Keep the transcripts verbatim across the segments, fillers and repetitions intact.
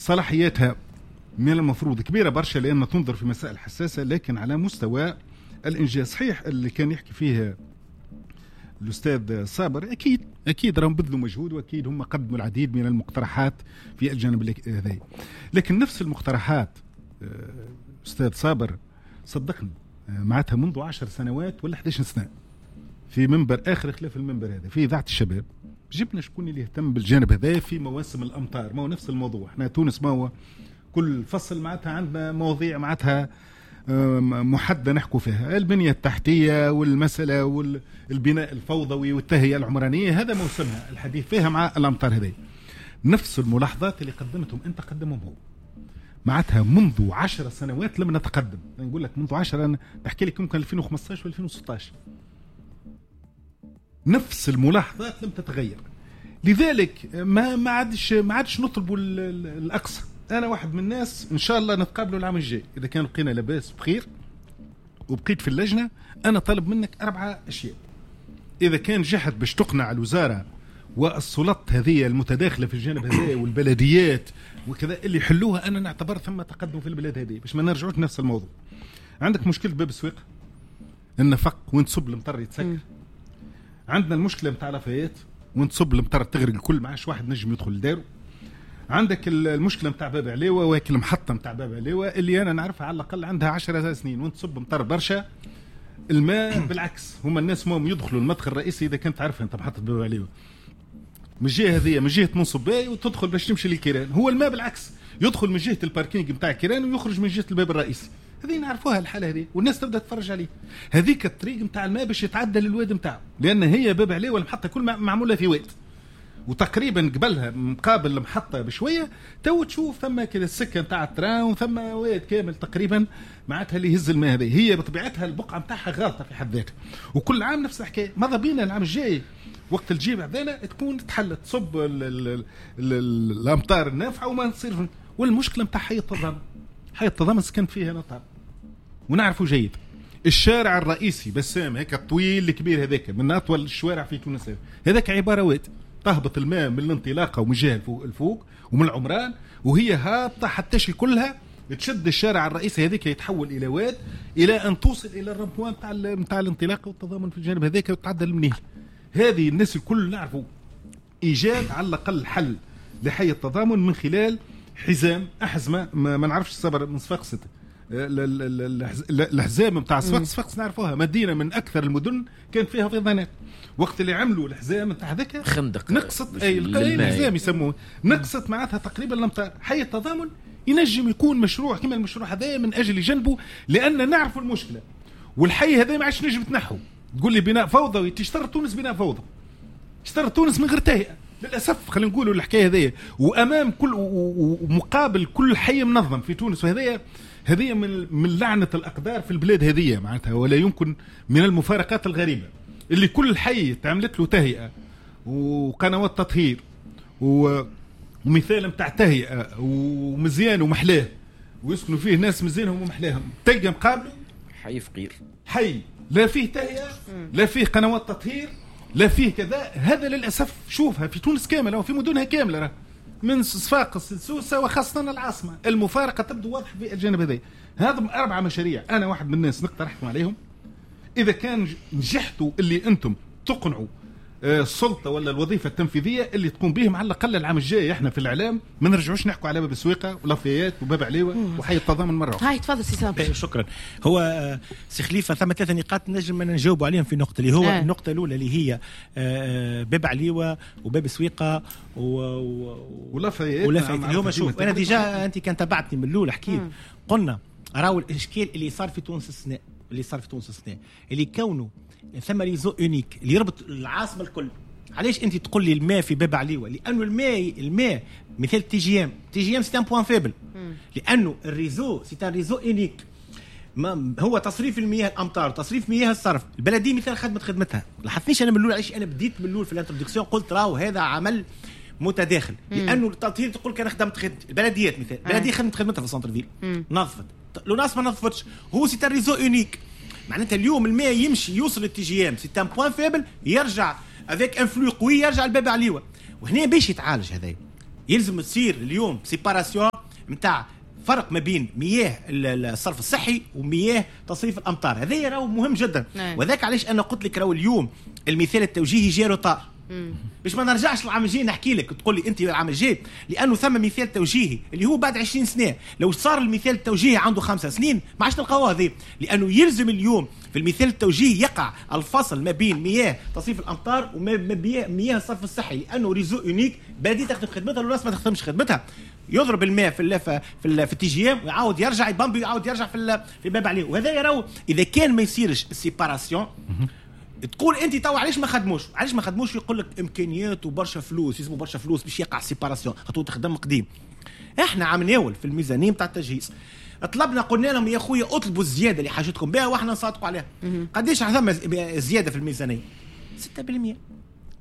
صلاحياتها من المفروض كبيرة برشا لان تنظر في مسائل حساسه، لكن على مستوى الانجاز صحيح اللي كان يحكي فيه الاستاذ صابر، اكيد اكيد راهم بذلوا مجهود، واكيد هم قدموا العديد من المقترحات في الجانب هذا، لكن نفس المقترحات استاذ صابر صدقني معناتها منذ عشر سنوات ولا إحدى عشرة سنة في منبر اخر خلاف المنبر هذا في اذاعة الشباب جبنا شكون اللي يهتم بالجانب هذا في مواسم الامطار. ما هو نفس الموضوع، احنا تونس ما هو كل فصل معناتها عندنا مواضيع معناتها محددة نحكوا فيها، البنية التحتية والمسالة والبناء الفوضوي والتهيئه العمرانية، هذا موسمها الحديث فيها مع الامطار هذه. نفس الملاحظات اللي قدمتهم انت قدمهم هو، معناتها منذ عشر سنوات لم نتقدم. نقول لك منذ عشرة، انا نحكي لك يمكن ألفين وخمسطاش و ألفين وستطاش نفس الملاحظات لم تتغير. لذلك ما ما عادش ما عادش نطلبوا الاقصى. انا واحد من الناس ان شاء الله نتقابلوا العام الجاي اذا كان بقينا لاباس بخير وبقيت في اللجنة. انا طالب منك اربعة اشياء اذا كان جحد باش تقنع الوزارة والسلطات هذه المتداخله في الجانب هذا والبلديات وكذا اللي يحلوها، انا نعتبر ثم تقدم في البلاد هذه باش ما نرجعوش نفس الموضوع. عندك مشكلة باب السويق، النفق وين تصب المطر يتسكر. عندنا المشكلة نتاع لافايات وين تصب المطر تغرق الكل، ما عادش واحد نجم يدخل لدارو. عندك المشكلة نتاع باب عليوه واكل المحطة نتاع باب عليوه اللي انا نعرفها على الاقل عندها عشر سنين وين تصب مطر برشا الماء بالعكس هما الناس مهم يدخلوا المدخل الرئيسي اذا كنت تعرفها انت محطة باب عليوه من الجهة هذه من جهة منصب باي وتدخل باش تمشي للكيران، هو الماء بالعكس يدخل من جهة ال parking نتاع الكيران ويخرج من جهة الباب الرئيسي. هذه نعرفوها الحالة هذه والناس تبدا تتفرج عليه. هذيك الطريق نتاع الماء باش يتعدى للواد نتاعو، لان هي باب عليوه المحطة كل معمولة في واد، وتقريبا قبلها مقابل المحطة بشوية تو تشوف ثم كده السكة نتاع ال train وثم واد كامل تقريبا معناتها اللي يهز الماء هذه. هي بطبيعتها البقعة نتاعها غالطه في حد ذاتها، وكل عام نفس الحكاية. ماذا بينا العام الجاي وقت الجيب عندنا تكون تحلت تصب ال ال ال الامطار النافعة وما نصير. والمشكلة نتاع حي التضامن، حي التضامن سكن فيه انا طاب ونعرفه جيد. الشارع الرئيسي بسام هيك الطويل الكبير هذاك من اطول الشوارع في تونس، هذاك عبارة واد تهبط الماء من الانطلاقة ومن جهة الفوق ومن العمران وهي هابطة حتى كلها تشد الشارع الرئيسي هذيك يتحول الى واد الى ان توصل الى ال rond-point نتاع نتاع الانطلاقة والتضامن في الجانب هذاك وتعدل المنيل. هذه الناس الكل نعرفوا ايجاد على الاقل حل لحي التضامن من خلال حزام احزمة ما, ما نعرفش الصبر من صفاقس، الحزام نتاع صفاقس، صفاقس نعرفوها مدينة من اكثر المدن كان فيها فيضانات. وقت اللي عملوا الحزام نتاع هذاك خندق نقصت اي الحزام يسموه نقصت معناتها تقريبا الامطار. حي التضامن ينجم يكون مشروع كما المشروع هذا من اجل جنبه، لان نعرفوا المشكلة والحي هذا ما عادش نجم تنحو. تقول لي بناء فوضوي، تشترط تونس بناء فوضى، اشترط تونس من غير تهيئة للاسف. خلينا نقولوا الحكاية هذيا وامام كل ومقابل كل حي منظم في تونس، وهذايا هذه من من لعنه الاقدار في البلاد هذه معناتها، ولا يمكن من المفارقات الغريبة اللي كل حي تعملت له تهيئة وقنوات تطهير ومثال نتاع تهيئة ومزيان ومحلاه ويسكنوا فيه ناس مزيانهم ومحلاهم، تلقى مقابله حي فقير، حي لا فيه تهيئة لا فيه قنوات تطهير لا فيه كذا. هذا للاسف شوفها في تونس كاملة وفي مدنها كاملة، راه من صفاقس لسوسه وخاصة العاصمة المفارقة تبدو واضحة في الجانب هذا. هذا اربعة مشاريع انا واحد من الناس نقترحكم عليهم. اذا كان نجحتوا اللي انتم تقنعوا السلطة ولا الوظيفة التنفيذية اللي تقوم بهم على الاقل العام الجاي احنا في الاعلام ما نرجعوش نحكوا على باب السويقه ولافيات وباب عليوه وحي التضامن مرة اخرى. هاي تفضل سي صابر. شكرا. هو سي خليفة ثم ثلاثة نقاط نجم نجاوب عليهم في نقطة اللي هو آه. النقطة الاولى اللي هي باب عليوه وباب السويقه و... ولافيات ولافيات اللي هما شوف انا déjà انت كان تبعتني من الاول حكيت قلنا راهو الاشكال اللي صار في تونس السنة اللي صار في تونس السنة اللي كونه ثم réseau unique اللي يربط العاصمة الكل. علاش انت تقول لي الماء في باب عليوه؟ لانه الماء الماء مثال تي جي ام تي جي ام c'est un point faible، لانه ال réseau c'est un réseau unique، ما هو تصريف المياه الامطار تصريف مياه الصرف. البلدية مثال خدمت خدمتها. لاحظتنيش انا من الاول علاش انا بديت من الاول في ال introduction قلت راهو هذا عمل متداخل، لانه التطهير تقول كان خدمت خدمت البلديات مثال البلدية خدمت خدمتها في ال centre-ville نظفت، l'ONAS ما نظفتش، هو c'est un réseau unique. معناتها اليوم الماء يمشي يوصل لل TGM c'est un point faible، يرجع avec un flux قوي يرجع لباب عليوه. وهنا باش يتعالج هذا يلزم تصير اليوم séparation نتاع فرق ما بين مياه الصرف الصحي ومياه تصريف الامطار، هذا راهو مهم جدا. وذاك علاش انا قلت لك راهو اليوم المثال التوجيهي جا retard، باش ما نرجعش العام الجاي نحكي لك تقول لي انت العام الجاي، لانه ثم مثال توجيهي اللي هو بعد عشرين سنة. لو صار المثال التوجيهي عنده خمسة سنين ما عادش نلقاوه هذه، لانه يلزم اليوم في المثال التوجيهي يقع الفصل ما بين مياه تصريف الامطار وما بين مياه الصرف الصحي، لانه réseau unique بلديه تخدم خدمتها والناس ما تخدمش خدمتها. يضرب الماء في ال في ال في ال TGM ويعاود يرجع يبامبي ويعاود يرجع في في باب عليه. وهذا راهو اذا كان ما يصيرش ال séparation تقول انت تو علاش ما خدموش؟ علاش ما خدموش؟ يقول لك امكانيات وبرشا فلوس، يلزموا برشا فلوس باش يقع séparation، خاطر تخدم قديم. احنا عم ناول في الميزانية نتاع التجهيز طلبنا قلنا لهم يا خويا اطلبوا الزيادة اللي حاجتكم بها واحنا نصادقوا عليها. قداش ثم زيادة في الميزانية؟ ستة بالمئة.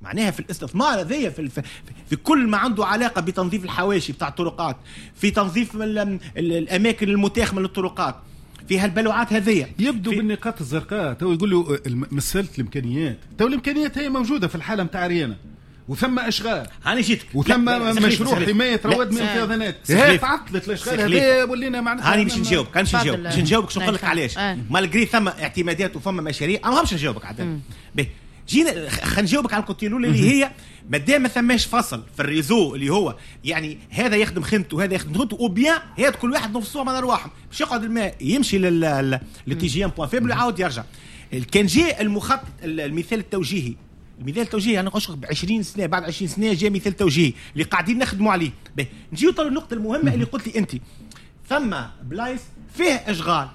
معناها في الاستثمار هذايا في, في, في كل ما عنده علاقة بتنظيف الحواشي بتاع الطرقات، في تنظيف ال ال الاماكن المتاخمه للطرقات، في هالبلوعات هذيا. يبدو بالنقاط الزرقاء تو يقولوا مسالة الامكانيات، تو الامكانيات هي موجودة في الحالة نتاع ريانا، وثم اشغال هاني جيتك، وثم مشروع حماية رواد من الفيضانات، هي تعطلت الاشغال هذه ولينا معناتها. هاني باش نجاوبك، كان باش نجاوب باش نجاوبك شنو نقول لك علاش malgré ثم اعتمادات وثم مشاريع انا ماهمش نجاوبك عاد. باهي جينا خلينا نجاوبك على ال côté الاولى اللي هي مادام ما ثماش فصل في ال réseau اللي هو يعني هذا يخدم خدمته وهذا يخدم خدمته ou bien هي كل واحد نفصوه من ارواحهم باش يقعد الماء يمشي لل TGM point faible ويعاود يرجع. كان جاء المخطط المثال التوجيهي، المثال التوجيهي انا نقولش ب عشرين سنة، بعد عشرين سنة جاء مثال توجيهي اللي قاعدين نخدموا عليه. نجيو طلب النقطة المهمة اللي قلت لي انت، ثم بلايص فيه اشغال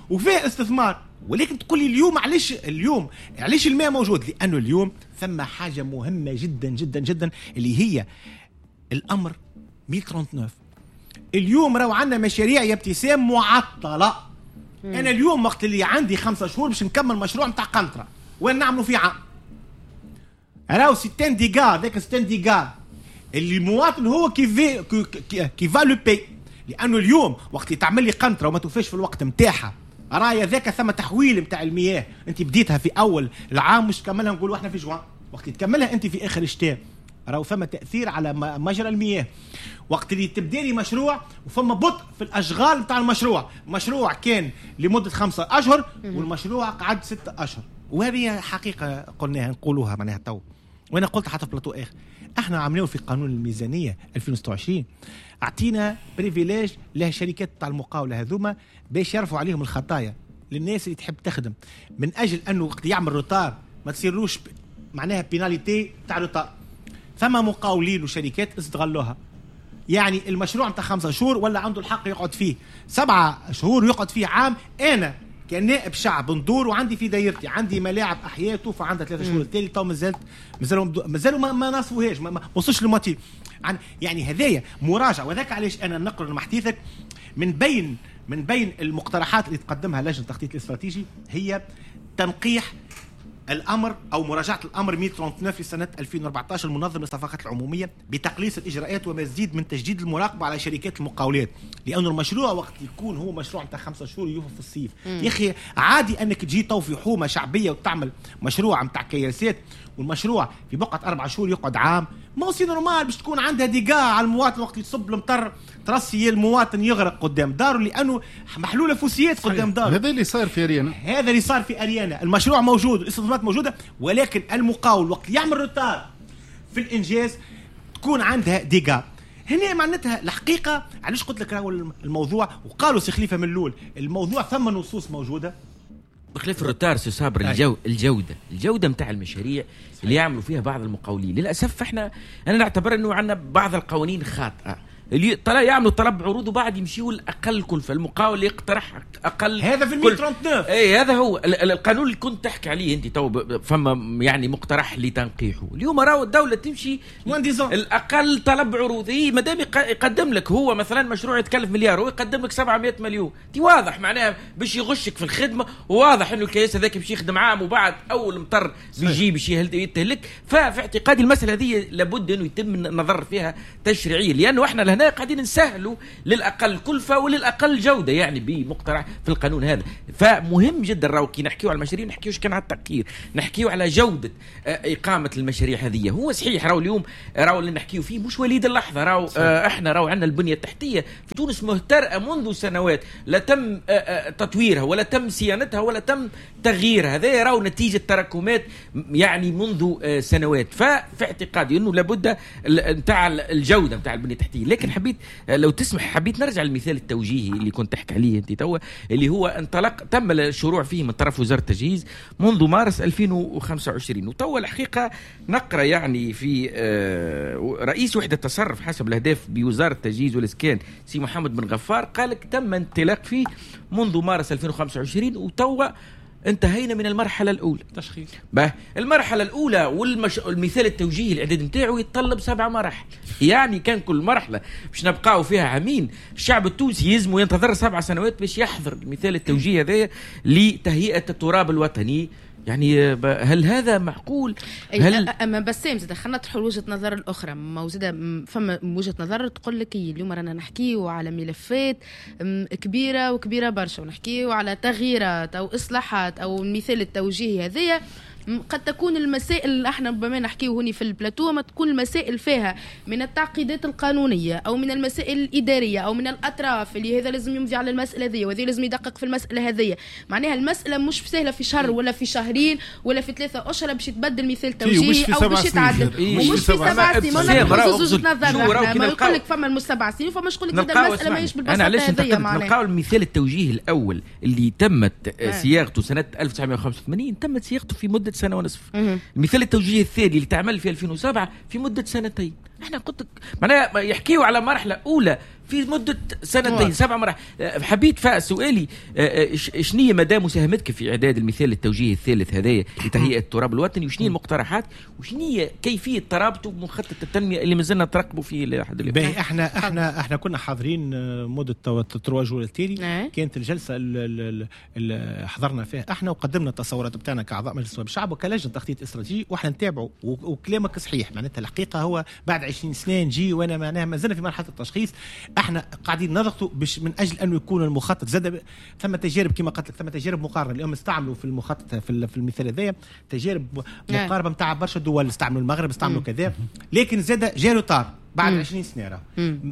وفيه استثمار، ولكن تقول لي اليوم علاش اليوم علاش الماء موجود؟ لانه اليوم ثم حاجة مهمة جدا جدا جدا اللي هي الامر مية وتسعة وثلاثين. اليوم راهو عندنا مشاريع يا ابتسام معطلة. مم. انا اليوم وقت اللي عندي خمسة شهور باش نكمل مشروع نتاع قنطرة وين نعملوا فيه عام، راهو ستين dégâts، ذاك ستين dégâts اللي المواطن هو qui qui va le payer. لانه اليوم وقت اللي تعمل لي قنطرة وما توفاش في الوقت نتاعها، رايا ذاك ثم تحويل نتاع المياه، انت بديتها في اول العام مش تكملها نقولوا احنا في جوان، وقت تكملها انت في اخر الشتاء راهو ثم تاثير على مجرى المياه. وقت اللي تبدا لي مشروع وفما بطء في الاشغال نتاع المشروع، مشروع كان لمدة خمسة اشهر والمشروع قعد ستة اشهر، وهذه حقيقة قلناها نقولوها معناها تو، وانا قلت حتى في بلاطو اخر احنا عملناه في قانون الميزانية ألفين وستة وعشرين، اعطينا privilège للشركات تاع المقاوله هذوما باش يرفعوا عليهم الخطايا للناس اللي تحب تخدم، من اجل انه وقت يعمل retard ما تصيرلوش معناها pénalité تاع retard. ثم مقاولين وشركات استغلوها، يعني المشروع نتاع خمسة شهور ولا عنده الحق يقعد فيه سبعة شهور ويقعد فيه عام. انا كنائب شعب ندور وعندي في دايرتي عندي ملاعب احياء توفى عندها ثلاثة شهور التالي تو مازالت مازالوا مازالوا ما, ما نصفوهاش ما, ما وصلش لل moitié. يعني هذايا مراجعه. وذاك علاش انا نقرا مع حديثك من بين من بين المقترحات اللي تقدمها لجنة التخطيط الاستراتيجي هي تنقيح الامر او مراجعه الامر مية وتسعة وثلاثين لسنه ألفين وأربعة عشر المنظم للصفقات العمومية بتقليص الاجراءات ومزيد من تجديد المراقبة على شركات المقاولات، لانه المشروع وقت يكون هو مشروع نتاع خمسة شهور يوفى في الصيف. يا اخي عادي انك تجي تو في حومه شعبية وتعمل مشروع نتاع كياسات والمشروع في بقعة اربع شهور يقعد عام، ما هو c'est normal باش تكون عندها dégâts على المواطن وقت يصب المطر ترسي المواطن يغرق قدام داره لانه محلولة فوسيات قدام داره. هذا اللي صار في اريانا، هذا اللي صار في اريانا، المشروع موجود الاستثمارات موجودة، ولكن المقاول وقت يعمل retard في الانجاز تكون عندها dégâts. هنا معناتها الحقيقة علاش قلت لك راهو الموضوع، وقالوا سي خليفة من الاول الموضوع ثم نصوص موجودة بخلاف ال retard سي صابر الجو الجودة الجودة نتاع المشاريع اللي يعملوا فيها بعض المقاولين للاسف. احنا انا نعتبر انه عندنا بعض القوانين خاطئه اللي طلع يعملوا طلب عروض وبعد يمشيوا الاقل كلفه، المقاول يقترح اقل هذا في مية وتسعة وثلاثين. اي هذا هو القانون اللي كنت تحكي عليه انت تو، فما يعني مقترح لتنقيحه اليوم راهو الدولة تمشي الاقل طلب عروض. اي ما دام يقدم لك هو مثلا مشروع يتكلف مليار هو يقدم لك سبعمية مليون، تي واضح معناها باش يغشك في الخدمة، وواضح انه الكيس هذاك باش يخدم عام وبعد اول مطر بيجي باش يهلك. ففي اعتقادي المسالة هذه لابد انه يتم النظر فيها تشريعيا، لانه احنا هنا قاعدين نسهلوا للاقل كلفه وللاقل جوده يعني بمقترح في القانون هذا. فمهم جدا راهو كي نحكيو على المشاريع نحكيوش كان على التقيير، نحكيو على جوده اقامه المشاريع هذه. هو صحيح راهو اليوم راهو اللي نحكيو فيه مش وليد اللحظة، راهو احنا راهو عندنا البنية التحتية في تونس مهترئه منذ سنوات، لا تم تطويرها ولا تم صيانتها ولا تم تغييرها. هذا راهو نتيجة تراكمات يعني منذ سنوات. ففي اعتقادي انه لابد نتاع الجودة نتاع البنية التحتية. لكن حبيت لو تسمح حبيت نرجع للمثال التوجيهي اللي كنت تحكي عليه انت توا، اللي هو انطلق تم الشروع فيه من طرف وزارة التجهيز منذ مارس ألفين وخمسة وعشرين. وتوا الحقيقة نقرا يعني في رئيس وحده التصرف حسب الاهداف بوزارة التجهيز والاسكان سي محمد بن غفار قال لك تم انطلاق فيه منذ مارس ألفين وخمسة وعشرين وتوا انتهينا من المرحلة الأولى تشخيص. به المرحلة الأولى والمش... المثال التوجيهي الإعداد نتاعو يتطلب سبع مراحل، يعني كان كل مرحلة باش نبقاو فيها عامين. الشعب التونسي يلزم ينتظر سبع سنوات باش يحضر المثال التوجيهي هذا لتهيئة التراب الوطني. يعني هل هذا معقول؟ هل اما بسام زاد خلينا نطرحوا وجهه نظر الاخرى. ما زاد فما وجهه نظر تقول لك اليوم رانا نحكيو على ملفات كبيرة وكبيره برشا، ونحكيو على تغييرات او اصلاحات او المثال التوجيهي هذايا. قد تكون المسائل احنا ربما نحكيه هوني في البلاتو ما تكون المسائل فيها من التعقيدات القانونية او من المسائل الادارية او من الاطراف اللي هذا لازم يمضي على المسالة هذه وهذا لازم يدقق في المسالة هذه. معناها المسالة مش سهلة في شهر ولا في شهرين ولا في ثلاثة اشهر باش يتبدل مثال توجيهي او باش يتعدل، ومش في سبع سنين. ما ناخذ وجهه نظر، ما يقول لك فما مش سبع سنين فما يقول لك المسالة ماهيش بالبساطة هذه. معناها نلقاو المثال التوجيهي الاول اللي تمت صياغته سنة ألف وتسعمائة وخمسة وثمانين تمت صياغته في مده سنة ونصف. المثال التوجيهي الثاني اللي تعمل في ألفين وسبعة في مدة سنتين. احنا قلت معناها يحكيوا على مرحلة أولى في مدة سنتين سبع مراحل. حبيت فسؤالي شنية مدى مساهمتك في إعداد المثال التوجيهي الثالث هذايا لتهيئة التراب الوطني، وشنية المقترحات، وشنية كيفية ترابطه بمخطط التنمية اللي مازلنا نترقبوا فيه لحد اليوم؟ باهي احنا احنا احنا كنا حاضرين مدة trois jours التالي، كانت الجلسة اللي حضرنا فيها احنا وقدمنا التصورات بتاعنا كأعضاء مجلس نواب الشعب وكلجنة تخطيط استراتيجي، واحنا نتابعوا. وكلامك صحيح، معناتها الحقيقة هو بعد عشرين سنة نجي وانا معناها ما زلنا في مرحلة التشخيص. احنا قاعدين نضغطوا باش من اجل انه يكون المخطط زاد. ثم تجارب كما قلت لك، ثم تجارب مقارنة اليوم استعملوا في المخطط في في المثال هذايا تجارب مقاربة نتاع برشا دول، استعملوا المغرب استعملوا كذا، لكن زاد جا retard بعد عشرين سنة راه.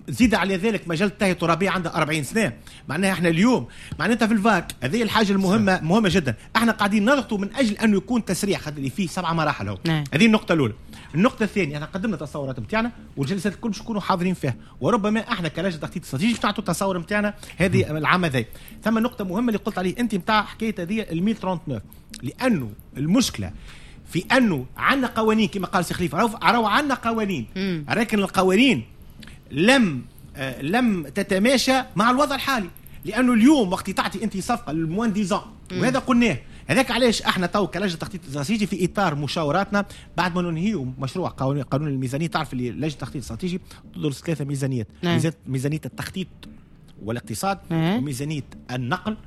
زيد على ذلك مجال التهيئه الترابيه عندها أربعين سنة. معناها احنا اليوم معناتها في الفاك هذه الحاجة المهمة مهمة جدا. احنا قاعدين نضغطوا من اجل انه يكون تسريع خاطر اللي فيه سبع مراحل هو. هذه النقطة الاولى. النقطة الثانية احنا قدمنا التصورات نتاعنا والجلسات الكل باش نكونوا حاضرين فيها، وربما احنا كلجنه تخطيط استراتيجي باش نعطوا التصور نتاعنا هذه العام هذا. ثم نقطة مهمة اللي قلت عليه انت نتاع حكاية هذه ال مية وتسعة وثلاثين، لانه المشكلة في انه عندنا قوانين كما قال سي خليفة، راهو عندنا قوانين، لكن القوانين لم آه لم تتماشى مع الوضع الحالي. لانه اليوم وقت تعطي انت صفقة لل moins dix ans، وهذا قلناه، هذاك علاش احنا تو كلجنه تخطيط استراتيجي في اطار مشاوراتنا بعد ما ننهيو مشروع قانون قانون الميزانية. تعرف اللي لجنة التخطيط الاستراتيجي تدرس ثلاثة ميزانيات، ميزانية التخطيط والاقتصاد، وميزانيه النقل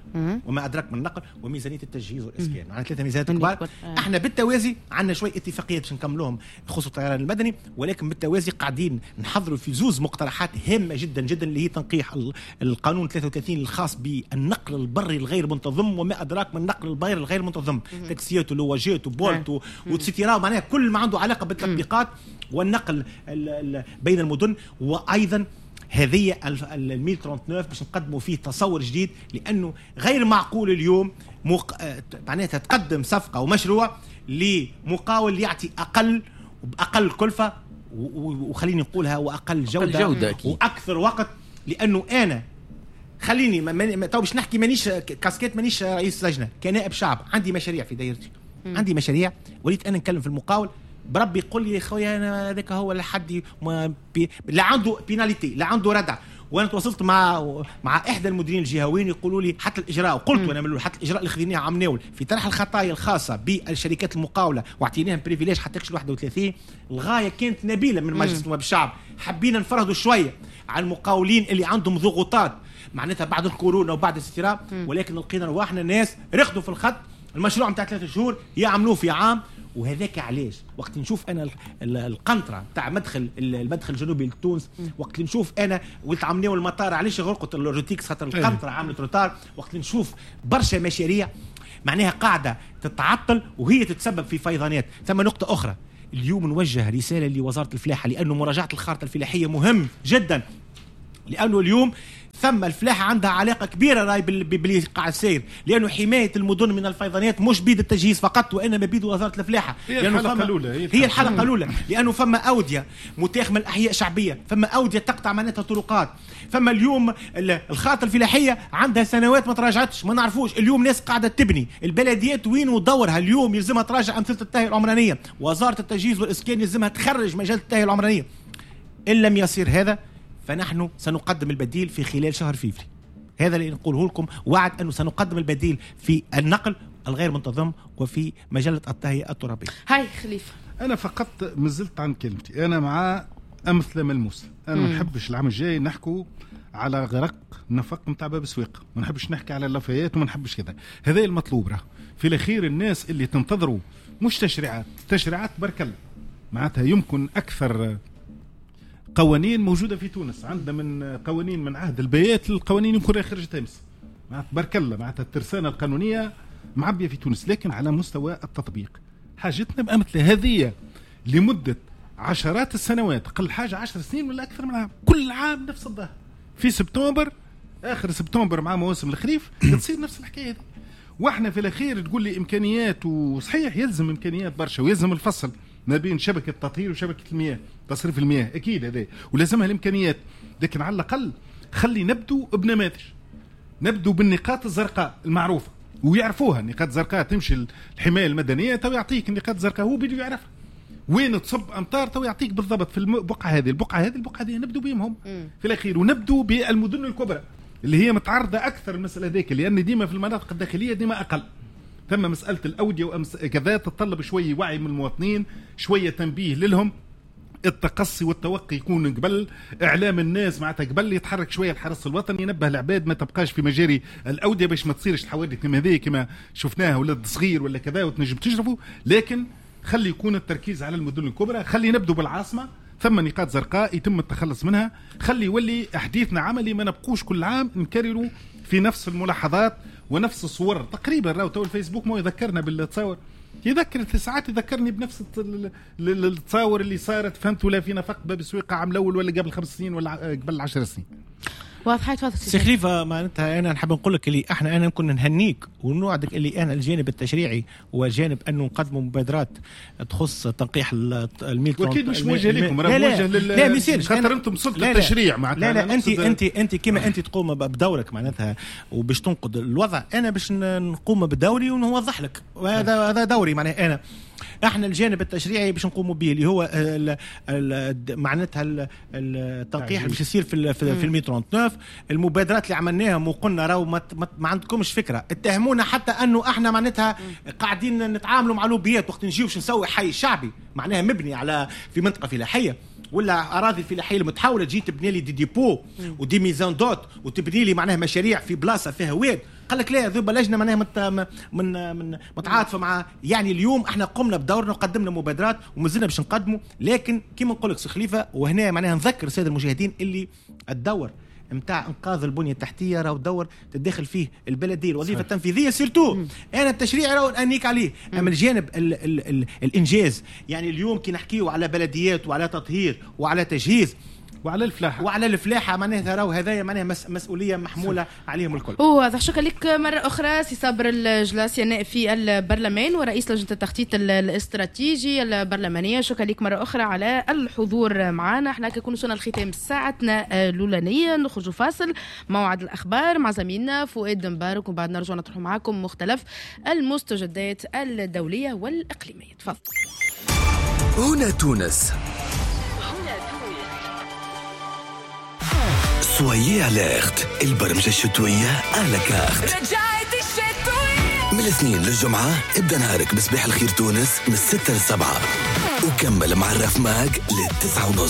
وما ادراك من النقل، وميزانيه التجهيز والاسكان. معنا ثلاثة ميزانيات كبار. احنا بالتوازي عندنا شوية اتفاقيات باش نكملوهم بخصوص الطيران المدني، ولكن بالتوازي قاعدين نحضروا في زوز مقترحات هامة جدا جدا، اللي هي تنقيح القانون ثلاثة وثلاثين الخاص بالنقل البري الغير منتظم، وما ادراك من النقل البري الغير منتظم، تاكسيات ولواجات وبولت و et cetera، معناها كل ما عنده علاقة بالتطبيقات والنقل بين المدن. وايضا هذه ال مية وتسعة وثلاثين باش نقدموا فيه تصور جديد، لانه غير معقول اليوم مق... معناتها تقدم صفقة ومشروع لمقاول يعطي اقل باقل كلفه وخليني نقولها واقل جوده, جودة واكثر وقت. لانه انا خليني ما... تو باش نحكي مانيش كاسكيت، مانيش رئيس لجنة، كنائب شعب عندي مشاريع في دايرتي، عندي مشاريع وليت انا نكلم في المقاول بربي يقول لي يا خويا انا هذاك هو لحد ما بي... لا عنده pénalité لا عنده ردع. وانا تواصلت مع مع احدى المديرين الجهويين يقولوا لي حتى الاجراء، وقلت وانا من حتى الاجراء اللي خذيناه عام ناول في طرح الخطايا الخاصة بالشركات المقاوله واعطيناهم privilège حتى كش واحد وثلاثين، الغاية كانت نبيلة من مجلس نواب الشعب، حبينا نفرهدوا شوية على المقاولين اللي عندهم ضغوطات معناتها بعد الكورونا وبعد الاستيراد، ولكن لقينا رواحنا ناس رخدوا في الخط، المشروع نتاع ثلاثة شهور يعملوه في عام، وهذاك علاش وقت نشوف انا القنطرة تاع مدخل المدخل الجنوبي لتونس، وقت نشوف انا ولت عملناو المطار علاش غرقت اللوجيتيكس خاطر القنطرة عملت retard، وقت نشوف برشا مشاريع معناها قاعدة تتعطل وهي تتسبب في فيضانات. ثم نقطة اخرى اليوم نوجه رسالة لوزارة الفلاحة، لانه مراجعه الخارطة الفلاحية مهم جدا، لانه اليوم ثم الفلاحة عندها علاقة كبيرة راي باللي قاعد ساير، لانه حماية المدن من الفيضانات مش بيد التجهيز فقط وانما بيد وزارة الفلاحة. هي الحلقة الاولى، هي, هي الحلقة الاولى، لانه فما اوديه متاخمه الاحياء شعبية، فما اوديه تقطع معناتها طرقات، فما اليوم الخارطة الفلاحية عندها سنوات ما تراجعتش، ما نعرفوش اليوم ناس قاعدة تبني، البلديات وين دورها اليوم يلزمها تراجع امثلة التهيئه العمرانية، وزارة التجهيز والاسكان يلزمها تخرج مجال التهيئه العمرانية. ان لم يصير هذا فنحن سنقدم البديل في خلال شهر فيفري. هذا اللي نقوله لكم، وعد أنه سنقدم البديل في النقل الغير منتظم وفي مجلة التهيئة الترابية. هاي خليفة، أنا فقط مازلت عن كلمتي، أنا مع أمثلة ملموسة. أنا ما نحبش العام الجاي نحكوا على غرق نفق نتاع باب سويق، ما نحبش نحكي على اللافيات وما نحبش كذا. هذا المطلوب راه في الأخير الناس اللي تنتظروا مش تشريعات، تشريعات برك الله معناتها يمكن أكثر قوانين موجودة في تونس، عندنا من قوانين من عهد البيات للقوانين يمكن خرجت امس، معناتها بارك الله معناتها الترسانة القانونية معبية في تونس، لكن على مستوى التطبيق حاجتنا بأمثلة هذه لمدة عشرات السنوات، أقل حاجة عشر سنين ولا أكثر من عام، كل عام نفس الظاهر في سبتمبر، آخر سبتمبر مع مواسم الخريف تصير نفس الحكاية هذه. واحنا في الأخير تقول لي إمكانيات، وصحيح يلزم إمكانيات برشا ويلزم الفصل ما بين شبكة التطهير وشبكة المياه، تصريف المياه أكيد هذا ولازمها الإمكانيات، لكن على الأقل خلي نبدو بنماذج، نبدو بالنقاط الزرقاء المعروفة ويعرفوها. النقاط الزرقاء تمشي الحماية المدنية تو يعطيك النقاط الزرقاء، هو بده يعرفها وين تصب أمطار تو يعطيك بالضبط في البقعة هذه البقعة هذه البقعة هذه، نبدو بهم هم في الأخير، ونبدو بالمدن الكبرى اللي هي متعرضة أكثر المسألة ذيك، لأن ديما في المناطق الداخلية ديما أقل. ثم مسألة الأودية وأمس كذا تتطلب شوية وعي من المواطنين، شوية تنبيه لهم، التقصي والتوقي يكون قبل، إعلام الناس معناتها قبل يتحرك شوية الحرس الوطني ينبه العباد ما تبقاش في مجاري الأودية باش ما تصيرش الحوادث كما هذه كما شفناها ولد صغير ولا كذا وتنجم تجربه. لكن خلي يكون التركيز على المدن الكبرى، خلي نبدو بالعاصمة، ثم نقاط زرقاء يتم التخلص منها، خلي يولي حديثنا عملي، ما نبقوش كل عام نكرروا في نفس الملاحظات ونفس الصور تقريبا. راهو تو الفيسبوك ما يذكرنا بالتصاور، يذكر في ساعات يذكرني بنفس التصاور اللي صارت، فهمت ولا في نفق باب سويقة عام الاول ولا قبل خمس سنين ولا قبل عشر سنين. واضحة تفضل سي خليفة. معناتها انا نحب نقول لك اللي احنا انا كنا نهنيك ونوعدك اللي انا الجانب التشريعي وجانب انه نقدموا مبادرات تخص تنقيح الميل، واكيد مش موجه لكم، راه موجه لل لا ميسيرش خاطر انتم سلطة التشريع معناتها. لا لا انت انت انت كما انت تقوم بدورك معناتها وباش تنقد الوضع، انا باش نقوم بدوري ونوضح لك، وهذا هذا دوري معناها. انا احنا الجانب التشريعي باش نقوموا به اللي هو ال ال معناتها التنقيح اللي باش يصير في في المية تسعة وثلاثين، المبادرات اللي عملناهم وقلنا راهو ما, ما عندكمش فكرة، اتهمونا حتى انه احنا معناتها قاعدين نتعاملوا مع لوبيات وقت نجيو باش نسوي حي شعبي معناها مبني على في منطقة فلاحية ولا اراضي فلاحية المتحوله، تجي تبني لي des dépôts و des maisons d'hôtes وتبني لي معناها مشاريع في بلاصة فيها واد، قال لك لا ذوب لجنة معناها مت من من متعاطفه مع. يعني اليوم احنا قمنا بدورنا وقدمنا مبادرات ومازلنا باش نقدموا، لكن كيما نقول لك سي خليفة وهنا معناها نذكر السادة المشاهدين اللي الدور نتاع انقاذ البنية التحتية راهو دور تدخل فيه البلدية الوظيفة التنفيذية surtout. انا التشريع راهو انيك عليه، اما الجانب ال ال ال الانجاز يعني اليوم كي نحكيو على بلديات وعلى تطهير وعلى تجهيز وعلى الفلاحة وعلى الفلاحة معناها راهو هذايا معناها مسؤولية محموله عليهم الكل. واضح. شكرا لك مرة اخرى سي صابر الجلاسي النائب في البرلمان ورئيس لجنة التخطيط الاستراتيجي البرلمانية، شكرا لك مرة اخرى على الحضور معنا. احنا كنكون وصلنا لختام ساعتنا الاولانية، نخرج فاصل موعد الاخبار مع زميلنا فؤاد مبارك، وبعد نرجع نطرح معكم مختلف المستجدات الدولية والاقليميه. تفضل. هنا تونس. Soyez alerte، البرمجة الشتوية à la carte. رجعت الشتوية من الاثنين للجمعة. ابدأ نهارك بصباح الخير تونس من الستة للسبعة وكمل مع الرف ماك للتسعة ونص.